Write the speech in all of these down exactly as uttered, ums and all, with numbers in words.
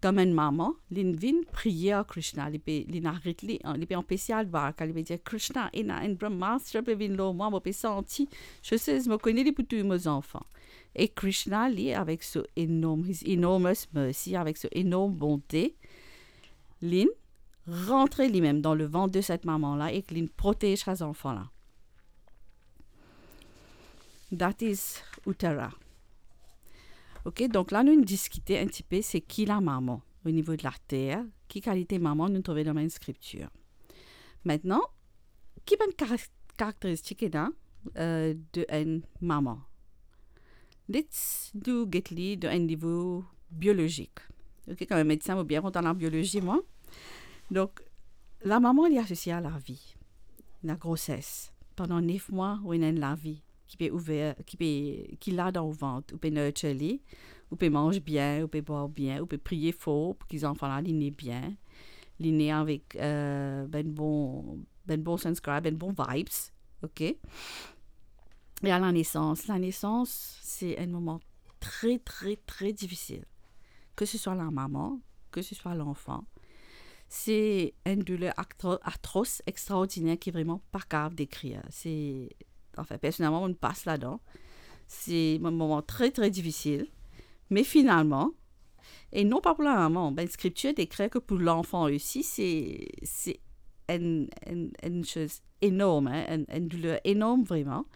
Kouma enn mama, li vinn priye ar Krishna, li pe, li aret li, li pe anpes li al dwarka, li pe dir, "Krishna, ena enn Brahmastra pe vinn lor mwa, mo pe santi, sosiz, mo kone li pou touy mo zanfan." E Krishna, li, avek so enorm, his enormous mercy, avek so enorm bonte, li rantre limem dan levant de set mama la ek li protez sa zanfan la. That is Uttara. Ok, donk la nou diskite enn tipe se ki lamama o nivo de later, ki kalite mama nou trouve dan bann skriptir. Aster, ki bann kara-, karakteristik ena, euh, de enn mama? Let's do get li dan enn nivo biolozik. Ok, kouma medsin, mo bien kontan labiolozi, mwa. Donk, lamama, li asosie a lavi, lagroses. Pandan nef mwa, ou ena enn lavi ki pe ouver, ki pe, ki la dan ou vant, ou pe nurture li, ou pe manz bien, ou pe bwar bien, ou pe priye for pou ki zanfan la, li ne bien, li ne avek, euh, bann bon, bann bon sanskar, bann bon vibes, ok? E a lanesans, lanesans, se enn moman tre, tre, tre difisil. Ke se swa lamama, ke se swa lanfan, se enn douler atro-, atros, extraordiner ki vreman pa kapav dekrir. Se, anfin, personelman, mo pas ladan. Se enn moman tre, tre difisil. Me finalman, e non pa pou lamama, bann skriptir dekrir ke pou lanfan osi, se, se enn, enn, enn soz enorm, hein, enn, enn douler enorm vreman.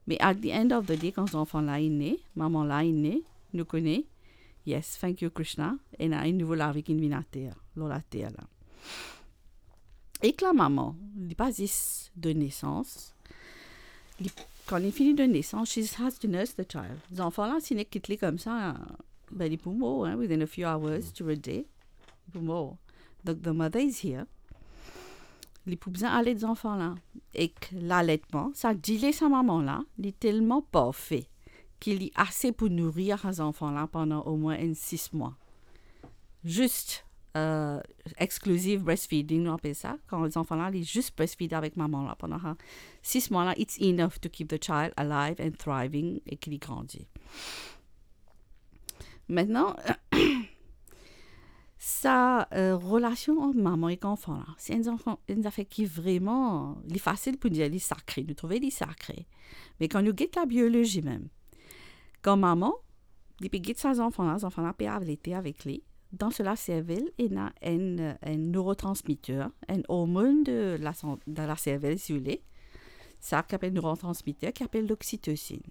Me at the end of the day, kan zanfan la inn ne, mama la inn ne, nou kone, yes, thank you Krishna, ena enn nouvo lavi ki vinn ater, lor later la. Ek lamama, li pa zis donn nesans, li, kan li fini donn nesans, she has to nurse the child. Zanfan la, si nou kit li koumsa, ben, li pou mor, hein, within a few hours to a day, li pou mor. Donk, the mother is here. Li pou bizin alet zanfan la. Ek laletman, sa dile sa mama la, li telman parfe ki li ase pou nourir sa zanfan la pandan omwin enn sis mwa. Zis, euh, exclusive breastfeeding, nou apel sa. Kan zanfan la, li zis breastfeed avek mama la pandan sa sis mwa la, it's enough to keep the child alive and thriving e ki li grandi. Aster, sa, euh, relasion ant mama ek zanfan la, se enn zanfan, enn zafer ki vreman, li fasil pou dir li sakre, nou trouve li sakre. Me kan nou get labiolozi mem, kan mama, li pe get sa zanfan la, zanfan la pe alete avek li, dan so laservel, ena enn, enn neurotransmetteur, enn ormonn de la san-, de laservel, si ou le, sa ki apel neurotransmetteur, ki apel l'oxytocine.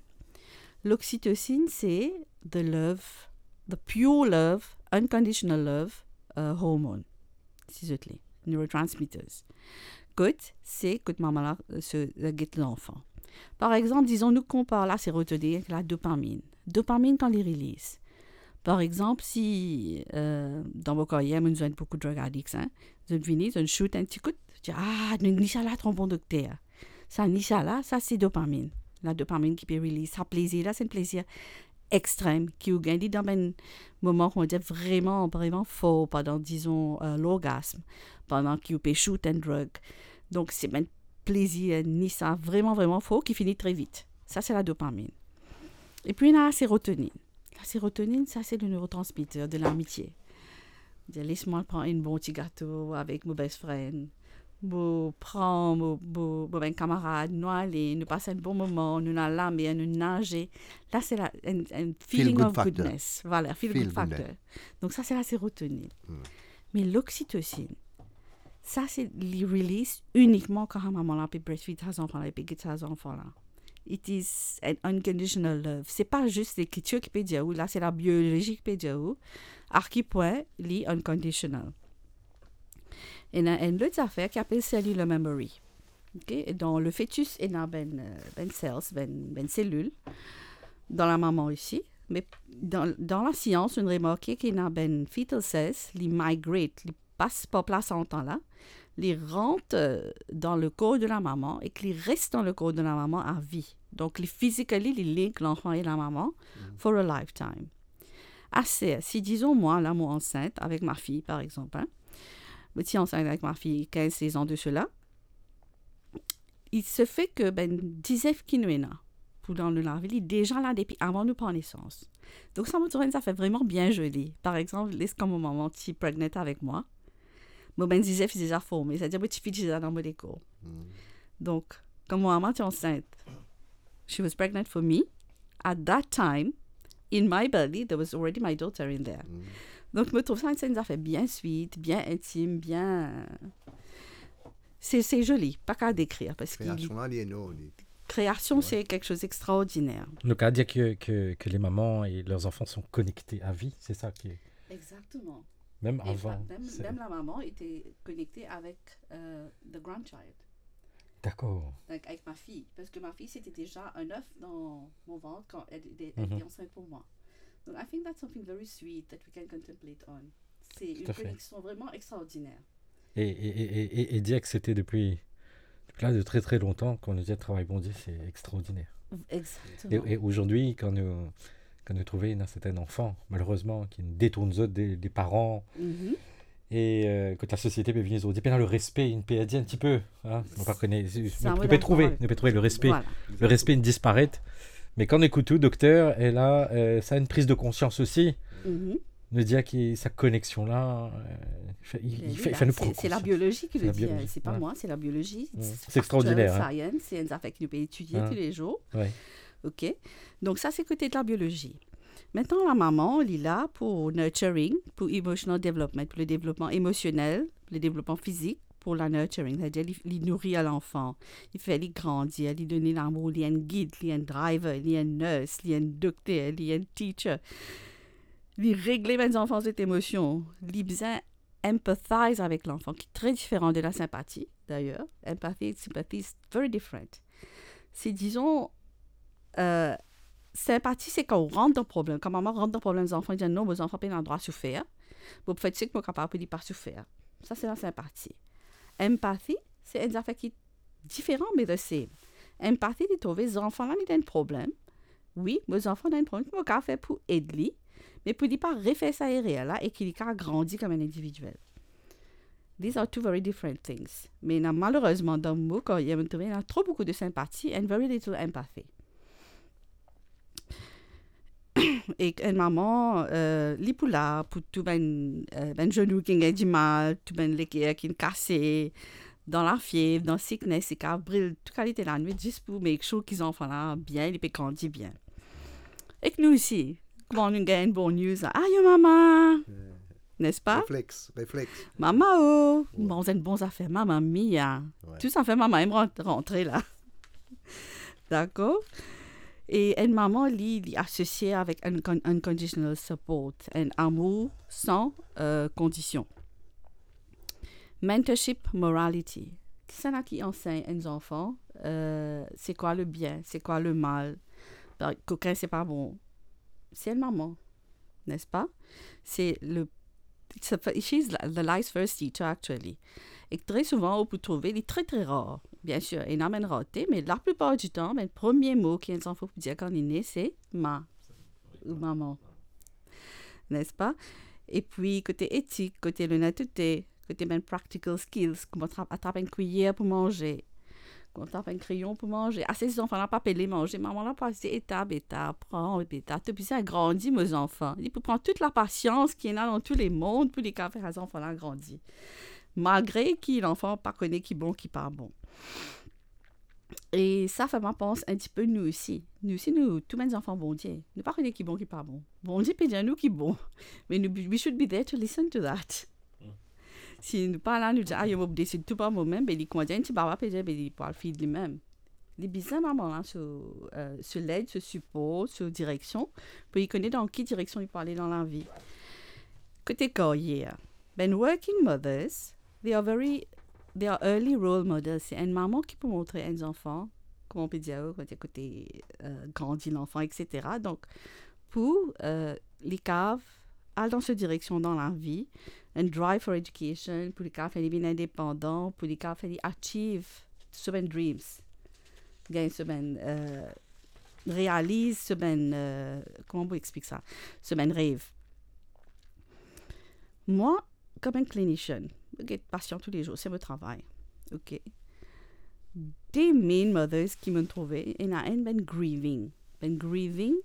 L'oxytocine, se the love, the pure love, unconditional love, euh, hormone, si zot le, neurotransmitters. Kot, se kot mama la, euh, se, euh, get lanfan. Par exanp, dizon nou konpar la serotonine ek la dopamine. Dopamine kan li release. Par exanp, si, euh, dan mo karyer, mo'nn zwenn boukou drug addicts, hein, zot vini, zot shoot enn ti kout, dir, "Ah, nou ni sa la, tro bon dokter." Sa ni sa la, sa se dopamine. La dopamine ki pe release. Sa plezir la, se enn plezir extrem ki ou gagn li dan bann moman, kouma dir, vreman, vreman for, pandan, dizon, euh, lorgasm, pandan ki ou pe shoot enn drug. Donk, se bann plezir, ni sa, vreman, vreman for, ki fini tre vit. Sa, se la dopamine. Epi, ena la serotonine. La serotonine, sa, se le neurotransmetteur de l'amitié. Dir, "Les mwa pran enn bon ti gato avek mo best friend. Mo pran mo, mo, mo bann kamarad, nou ale, nou pas enn bon moman, nou al lamer, nou naze." La, se la, enn, enn feeling of goodness. Feel good factor. Voilà, feel good factor. Donk, sa, se la serotonine. Me l'oxytocine, sa, se li release inikman kan mama la pe breastfeed sa zanfan la, pe get sa zanfan la. It is an unconditional love. Se pa zis lekritir ki pe dir ou, la, se labiolozi ki pe dir ou, a ki pwin li unconditional. Ena enn lot zafer ki apel cellular memory. Ok? E dan le fetis, ena bann, euh, bann cells, bann, bann selil, dan lamama osi. Me dan, dan lasians, nou remarke ki ena bann fetal cells, li migrate, li pas par plasanta la, li rant, euh, dan le kor de lamama ek li res dan le kor de lamama a vi. Donk, li physically, li link lanfan e lamama for a lifetime. Aster, si dizon mwa la, mo ansint avek ma fiy, par exanp, hein. Mo ti ansint avek ma fiy kinz sez an de sela. Il se fait que, bann dizef ki nou ena, pou dan nou lavi, li deza la depi avan nou pran nesans. Donk sa mo trouv enn zafer vreman bien zoli. Par exanp, les kan mo mama ti pregnant avek mwa, mo bann zizef ti deza forme, setadir mo tifi ti deza dan mo lekor. Mm. Donk, kan mo mama ti ansint, she was pregnant for me. At that time, in my belly, there was already my daughter in there. Mm. Donk, mo trouv sa enn zafer bien sweet, bien intim, bien, se, se zoli, pa kapav dekrir, parski kreasion la, li enorm, li. Kreasion, ouais, se quelque chose d'extraordinaire. Donc, à dire que, que, que les mamans et leurs enfants sont connectés à vie, c'est ça qui est... Exactement. Même avant, même, c'est même la maman était connectée avec, euh, the grandchild. D'accord. Donc, avec ma fille, parce que ma fille, c'était déjà un œuf dans mon ventre quand elle, elle, elle était enceinte pour moi. Donc, I think that's something very sweet that we can contemplate on. C'est une connexion vraiment extraordinaire. Tout à fait. Et, et, et, et, et dire que c'était depuis, depuis là de très, très longtemps qu'on nous dit travail Bondie, c'est extraordinaire. Exactement. Et, et aujourd'hui, quand nous, kan nou trouve ena serten zanfan, malerezman, ki détourn zot de, de paran, e, euh, kot lasosiete pe vini zordi, pena le respe, inn perdi enn tipe, hein. Nou pa kone, nou pe trouve, nou pe trouve le respe, le respe inn disparet. Me kan nou ekout ou, dokter, e la, euh, sa enn priz de konsians osi. Nou dir ki sa koneksion la, euh, li fer, li fer nou pran konsians. C'est la biologie qui le dit, hein. C'est pas moi, c'est la biologie. C'est extraordinaire, hein. Structural science, c'est enn zafer ki nou pe etidie tous les jours. Ouais. Ok. Donk sa se kote de la biologie. Maintenant, la maman, li la pou nurturing, pou emotional development, pou le devlopman emosionel, le devlopman fizik, pou la nurturing, setadir li, li nouri lanfan, li fer li grandi, li donn li lamour, li enn gid, li enn driver, li enn nurse, li enn dokter, li enn teacher. Li regle bann zanfan zot emosion, li bizin empathize avek lanfan, ki tre diferan de la senpati, d'ailleurs. Empathy and sympathy is very different. Si, dizon, euh, senpati, se kan ou rant dan problem. Kan mama rant dan problem zanfan, li dir, "Non, mo zanfan pena drwa soufer. Mo pou fer tou seki mo kapav pou li pa soufer." Sa, se la senpati. Empathy, se enn zafer ki diferan, me the same. Empathy, li trouve zanfan la, li ena enn problem. Wi, mo zanfan ena enn problem, ki mo kapav fer pou ed li, me pou li pa refer sa erer la e ki li kapav grandi kom enn individiel. These are two very different things. Me ena, malerezman, dan mo karyer, mo trouve ena tro boukou de senpati and very little empathy. Ek enn mama, euh, li pou la pou tou bann, euh, bann zenou ki gagn dimal, tou bann leker ki kase, dan lafiev, dan sickness, li kapav bril tou kalite lanwit zis pou make sure ki zanfan la bien, li pe grandi bien. Ek nou osi, kouma nou gagn enn bon news la, "Ayo mama!" Nespa? Reflex, reflex. "Mama o, manz enn bon zafer, mama mia." Ouais. Tou zafer mama inn rant-, rantre la. Dakor? E enn mama, li, li asosie avek unconditional support, enn amour san, euh, kondision. Mentorship morality. Kisannla ki ansegn enn zanfan, euh, c'est quoi le bien, c'est quoi le mal? Kokin, se pa bon. Se enn mama, nespa? Se le, it's a, she's the life's first teacher, actually. E tre souvan, ou pou trouve, li tre, tre rar. Bien sir, ena bann rarte, me laplipar ditan, bann premie mo ki enn zanfan pou dir kan li ne, se ma ou mama. Nespa? E pi, kote etik, kote lonetete, kote bann practical skills, kouma trap, atrap enn kwiyer pou manze, kouma trap enn kreyon pou manze. Ase zanfan la pa pe le manze, mama la pou asize etap, etap, pran etap. To bizin grandi, mo zanfan. Li pou pran tou lapasians ki ena dan tou lemond pou li kapav fer sa zanfan la grandi. Malgre ki lanfan pa kone ki bon, ki pa bon. E sa fer mwa pans enn tipe nou osi. Nou osi, nou tou bann zanfan Bondie. Nou pa kone ki bon, ki pa bon. Bondie pe dir nou ki bon. Me nou, we should be there to listen to that. Mm. Si nou pa la, nou dir, "Ayo, mo pou desid tou par momem," be li kouma dir enn ti baba pe dir, be li pou al feed limem. Li bizin mama la so, euh, so led, so sipor, so direksion, pou li kone dan ki direksion li pou ale dan lavi. Kote karyer, bann working mothers, they are very, they are early role models. Se enn mama ki pou montre enn zanfan, kouma pe dir, kote, kote, euh, grandi lanfan, et cetera. Donk, pou, euh, li kapav al dan so direksion dan lavi, enn drive for education, pou li kapav fer li vinn indepandan, pou li kapav fer li achieve so bann dreams, gagn so bann, euh, realiz so bann, euh, kouma pou explik sa? So bann rev. Mwa, kom enn clinician, mo get pasian toulezour, se mo travay. Ok. de main mothers ki mo'nn trouve, ena enn bann grieving. Bann grieving,